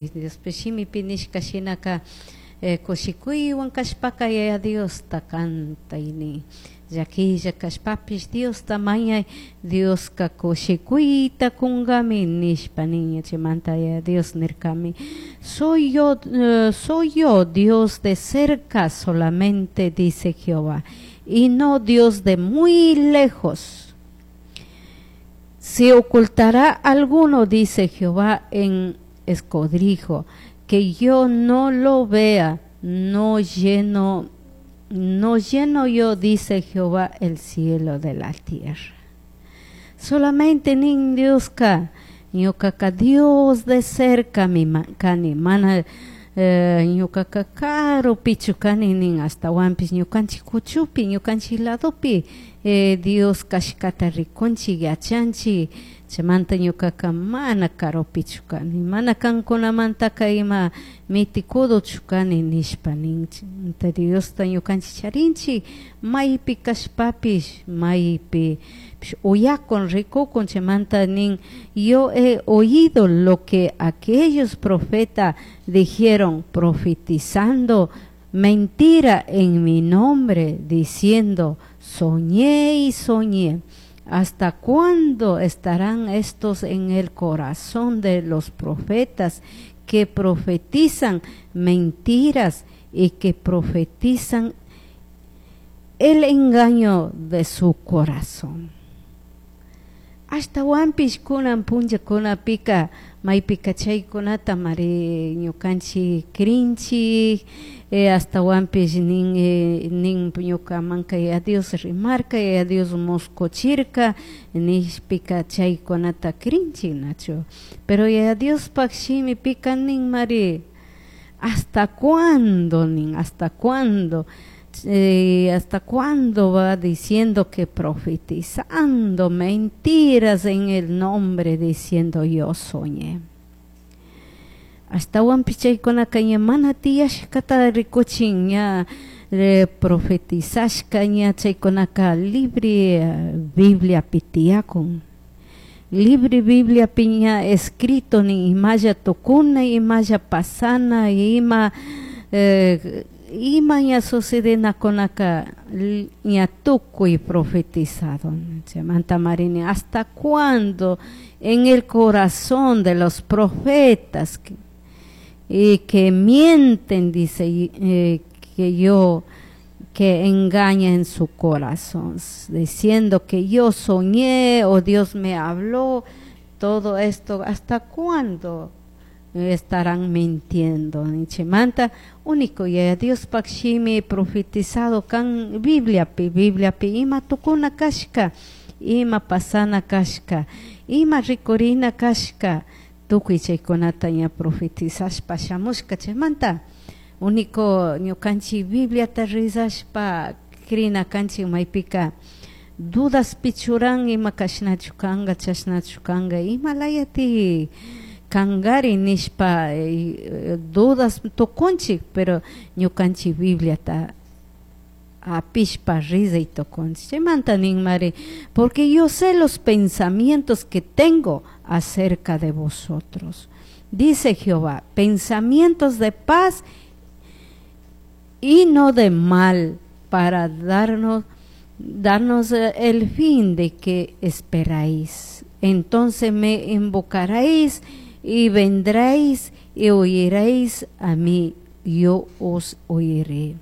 Diospis shimipi nishka shinaka kushikuywan kashpaka Yaya Diosta kantay nin, llakilla kashpapish Diosta mañay, Dioska kushikuyta kunkami nishpa nin. Chaymanta Yaya Dios nirkami: Soy yo Dios de cerca solamente, dice Jehová, y no Dios de muy lejos. ¿Se ocultará alguno, dice Jehová, en escondrijo, que yo no lo vea? No lleno yo, dice Jehová, el cielo de la tierra. Solamente nin Dioska, ñukaka Dios de cerca mi kani, mana ñukaka karupichu kani nin, ashtawanpish ñukanchik kuchupi, ñukanchik ladopi Dios kashkata rikunchik, yachanchik. Chaymanta ñukaka mana karupichu kani, mana kankunamantaka ima mitikuduchu kani nishpa nin. Diosta ñukanchik charinchik, maypi kashpapish, maypi uyakun, rikukun. Chaymanta nin: "Yo he oído lo que aquellos profetas dijeron, profetizando mentira en mi nombre, diciendo: 'Soñé y soñé'. ¿Hasta cuándo estarán estos en el corazón de los profetas que profetizan mentiras y que profetizan el engaño de su corazón?" Ashtawanpish kunan punllakunapika maypika chaykunata mari ñukanchik crinchik, ashtawanpish nin ñukamanka Yaya Dios rimarka, Yaya Dios muskuchirka nishpika chaykunata crinchik, nachu? Pero Yaya Diospaj shimipika nin mari: "¿Hasta cuándo?" nin, "¿Hasta cuándo? ¿Hasta cuándo va diciendo que profetizando mentiras en el nombre, diciendo: 'Yo soñé'?" Ashtawanpish chaykunaka ña mana tiyashkata rikuchin, ña profetizashka, ña chaykunaka libre Bibliapi tiyakun, libre Bibliapi ña escrito nin imalla tukuna, imalla pasana, ima ña sucedenakunaka ña tukuy profetizado. Chaymanta mari nin: "¿Hasta cuándo en el corazón de los profetas y que mienten?", dice, que engaña en su corazón, diciendo que yo soñé o Dios me habló, todo esto, ¿hasta cuándo estarán mintiendo? Chaymanta único Yaya Diospaj shimi profetizado kan Bibliapi, Bibliapi ima tukuna kashka, ima pasana kashka, ima rikurina kashka, tukuy chaykunata ña profetizashpa shamushka. Chaymanta único ñukanchik Bibliata rezashpa crina kanchik. Maypika dudaspi churan, ima kashnachu kanga, chashnachu kanga, ima layati kangari nishpa dudas tukunchik, pero ñukanchik Bibliata apishpa rezay tukunchik. Chaymanta nin mari: "Porque yo sé los pensamientos que tengo acerca de vosotros, dice Jehová, pensamientos de paz y no de mal, para darnos el fin de que esperáis. Entonces me invocaréis y vendréis y oiréis a mí, yo os oiré.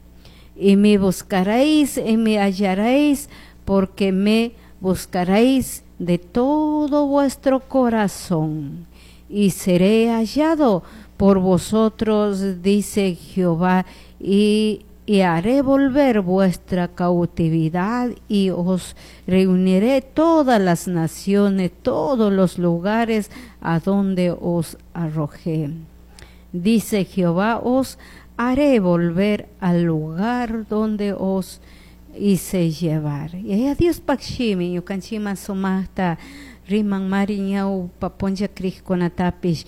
Y me buscaréis y me hallaréis, porque me buscaréis de todo vuestro corazón. Y seré hallado por vosotros, dice Jehová, y haré volver vuestra cautividad y os reuniré todas las naciones, todos los lugares a donde os arrojé. Dice Jehová, os haré volver al lugar donde os hice llevar." Yaya Diospaj shimi ñukanchikman sumajta riman mari, ñawpa punlla crijkunatapish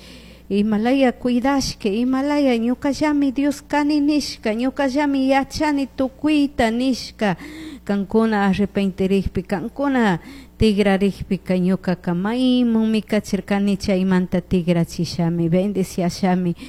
imalaya cuidashka, imalaya ñukallami Dios kani nishka, ñukallami yachani tukuyta nishka, kankuna arrepentirikpi kankuna Tigrarikpika ñukaka maymanmi kachirkani, chaymanta tigrachishami, bendiciashami.